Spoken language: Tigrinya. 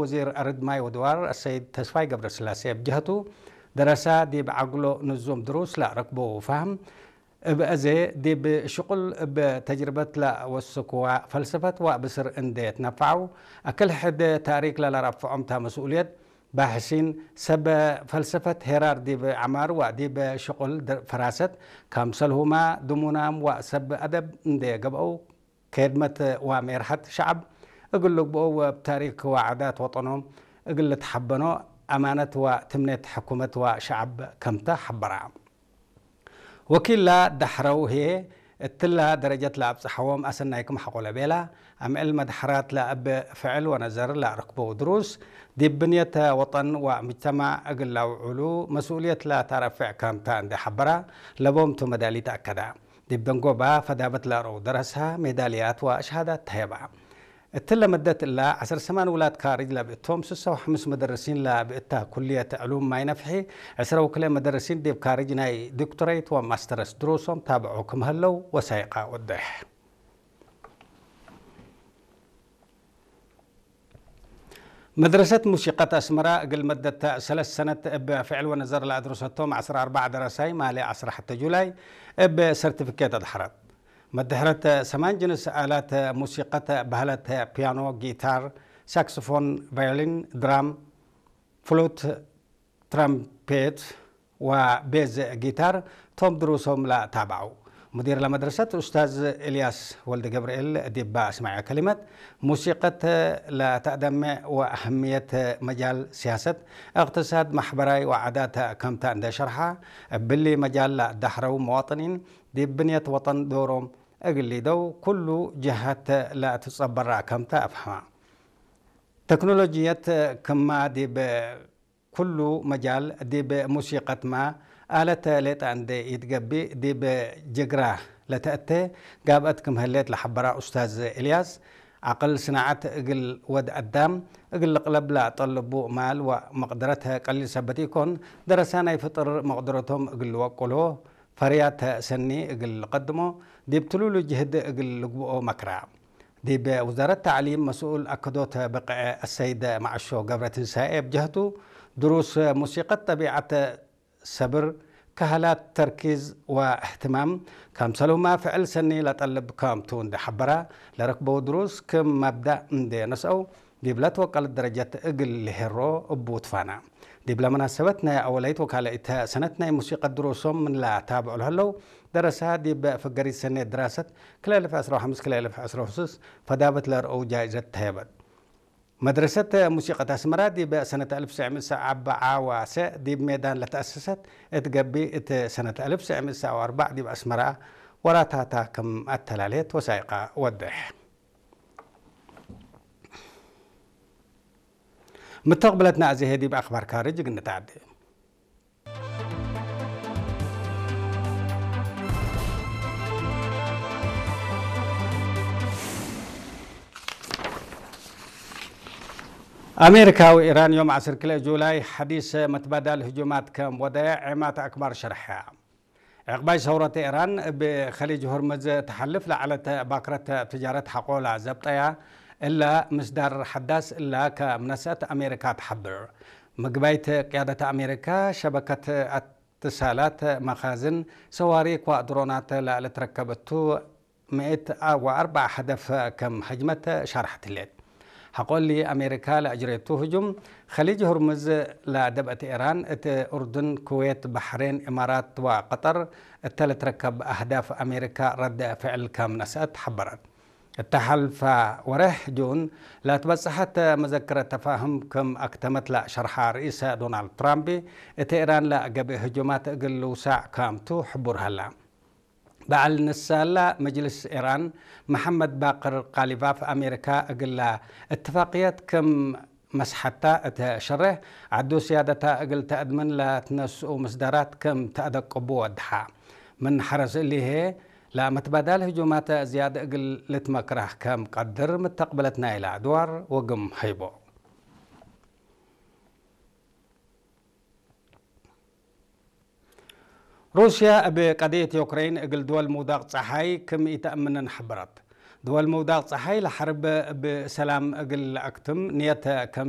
ወዚር ኣረድማይ ወድዋር ኣሰይድ ተስፋይ ገብረስላሴ ብጀህቱ ደረሳ ዲብ ዓግሎ ንዞም ድሩስ ላረክቦ ፋህም እብ ኣዜ ዲብ ሽቁል እብ ተጅርበት ላወስክዋ ፈልሰፈት ወብስር እንዴ ትነፋዑ ኣክል ሕድ ታሪክ ላላራፍዖምታ መስኡልየት ባሕሲን ሰብ ፈልሰፈት ሄራር ዲብ ዓማር ወዲብ ሽቁል ፈራሰት ካምሰልሁማ ድሙናም ወሰብ ኣደብ እንዴ ገብአው ከድመት ወሜርሐት ሸዐብ እግል ልግብኦ ወብ ታሪክ ወዓዳት ወጠኖም እግል ልትሐበኖ ኣማነት ወትምኔት ሕኩመት ወሸዐብ ከምተ ሐበራ። ወኪላ ዳሕረው ህዬ እትላ ደረጀት ለአብጽሐዎም ኣሰናይኩም ሐቆለ ቤላ፣ አምዕል መድሐራት ለእብ ፍዕል ወነዘር ለአርክበው ድሩስ፣ ዲብ ብንየት ወጠን ወምጅተማዕ እግል ለአውዕሉ መስኡልየት ለተረፍዕ ከምተ እንዴ ሐበራ፣ ለቦምቱ መዳሊት አከዳ። ዲብ ደንጎባ ፈዳበት ለአረው ደረሳ ሜዳልያት ወሸሃዳት ተሄባ። እትለ መደት እላ ዐስር ሰማን ውላድ ካርጅ ለብእቶም፣ ስሰ ወሐምስ መደርሲን ለብእታ ኩልየት ዕሉም ማይ ነፍሒ፣ ዕስረ ወክልኤ መደርሲን ዲብ ካርጅ ናይ ዶክቶረይት ወማስተርስ ድሩሶም ታብዖ ክም ሀለው ወሳይቃ ወደሕ። መድረሰት ሙሲቀት አስመራ እግል መደት ሰለስ ሰነት እብ ፍዕል ወነዘር ለአድረሰቶም ዐስራ አርባዕ ደረሳይ ማሌ ዐስራ ሐተ ጁላይ እብ ሰርቲፊኬት አድሐረት። መድሕረት ሰማን ጅንስ አላት ሙሲቀት በህለት ፒያኖ፣ ጊታር፣ ሳክስፎን፣ ቫዮሊን፣ ድራም፣ ፍሉት፣ ትራምፔት ወቤዝ ጊታር ቶም ድሩሶም ለታብዐው። ሙዲር ለመድረሰት ኡስታዝ ኤልያስ ወልደገብርኤል ዲባ አስማዐ ከሊመት፣ ሙሲቀት ለተአደምዕ ወአህምየት መጃል ሲያሰት፣ እቅትሳድ፣ ማሕበራይ ወዓዳት ከምታ እንደ ሸርሓ፣ እብሊ መጃል ለዳሕረው መዋጥኒን ዲብ ብንየት ወጠን ዶሮም እግል ሊደው ኩሉ ጀሃት ለትጸበራ ከምታ አፍሐማ። ተክኖሎጅየት ክማ ዲብ ኩሉ መጃል ዲብ ሙሲቀትማ፣ አለት ሌጠ እንዴ ኢትገቢእ ዲብ ጅግራ ለተአቴ ጋብአት ክም ህሌት ለሐበራ ኡስታዝ ኤልያስ፣ ዐቅል ስናዐት እግል ወድ አዳም እግል ልቅለብ ለአጠልቡ ማል ወመቅደረት ቀሊል ሰበት ኢኮን፣ ደረሳ ናይ ፍጥር መቅደረቶም እግል ልወቅሎ፣ ፈርያት ሰኒ እግል ልቀድሞ፣ ዲብ ትሉሉ ጅህድ እግል ልግብኦ መክራ። ዲብ ውዛረት ተዕሊም መስኡል አከዶት ብቅዐ አሰይድ መዐሾ ገብረትንሳኤ ብጀህቱ፣ ድሩስ ሙሲቀት ጠቢዐት ሰብር፣ ከህላት ተርኪዝ ወእህትማም፣ ከምሰልሁማ ፍዕል ሰኒ ለጠልብ ከምቱ እንደ ሐበራ፣ ለረክበው ድሩስ ክም መብዳእ እንደ ነስአው፣ ዲብለ ትወቀለት ደረጀት እግል ልሄሮ እቡ ትፋና። ዲብለ መናሰበት ናይ አወለይት ወካለኢት ሰነት ናይ ሙሲቀት ድሩሶም ምን ለታብዑ ለህለው ደረሳ ዲብ ፍገሪት ሰኔት ድራሰት ክልኤ እልፍ ዕስራ ወሐምስ ክልኤ እልፍ ዕስራ ወስስ ፈዳበት ለርአው ጃይዘት ተሄበት። መድረሰት ሙሲቀት አስመራ ዲብ ሰነት አልፍ ትስዕ ምእት አርብዓ ወሰ ዲብ ሜዳን ለተአሰሰት እት ገቢ እት ሰነት አልፍ ትስዕ ምእት አርባዕ ዲብ አስመራ ወራታታ ክም አተላልየት ወሳይቃ ወድሕ። ምተቕብለትና እዚ ሄዲ ብኣኽባር ካርጅ ግንታዕዲ። ኣሜሪካ ወኢራን ዮም ዓሰርተ ክልተ ጁላይ ሓዲስ መትባዳል ህጁማት ከም ወደያ ዔማት ኣክባር ሸርሐያ። ዕቕባይ ሰውረት ኢራን እብ ኸሊጅ ሆርመዝ ተሓልፍ ለዓለት ባክረት ትጃረት ሓቆላ ዘብጠያ እላ ምስዳር ሓዳስ እላ ከምነሰት ኣሜሪካ ትሓብር። ምግባይት ቅያደት ኣሜሪካ ሸበከት ኣትሳላት መኻዝን ሰዋሪክ ወድሮናት ለልትረከበቱ ምእት ወአርብዓ ሀደፍ ከም ሀጅመት ሻርሐትሌት። ሐቆሊ አሜሪካ ለአጅሬቱ ህጁም ኸሊጅ ሁርሙዝ ለደብአት ኢራን እት ኡርዱን፣ ኩዌት፣ ባሕሬን፣ ኢማራት ወቀጠር እተ ለትረከብ አህዳፍ አሜሪካ ረድ ፍዕል ከም ነስአት ሐበረት። እተ ሐልፋ ወርሕ ጁን ለትበጽሐት መዘክረት ተፋህም ከም አክተመት ለሸርሐ ርኢሰ ዶናልድ ትራምፕ እት ኢራን ለገብእ ህጁማት እግል ልውሳዕ ከምቱ ሕቡር ሀላ። በዓል ንሳላ መጅልስ ኢራን መሐመድ ባቅር ቃሊባፍ አሜሪካ እግላ እትፋቅየት ክም መስሐታ እተ ሸሬሕ ዐዱ ስያደታ እግል ተአድምን ለትነስኡ ምስዳራት ክም ተአደቅቡ ወድሓ። ምን ሐረስ እሊሄ ለመትባዳል ህጁማት ዝያድ እግል ልትመክራህ ከም ቀድር ምተቅብለት ናይላ ድዋር ወግም ሀይቦ። ሩስያ እብ ቀድየት ዩክረይን እግል ድወል ምውዳቅ ጸሓይ ክም ኢተአምንን ሐበረት። ድወል ምውዳቅ ጸሓይ ለሐርብ እብ ሰላም እግል ለአክትም ንየት ከም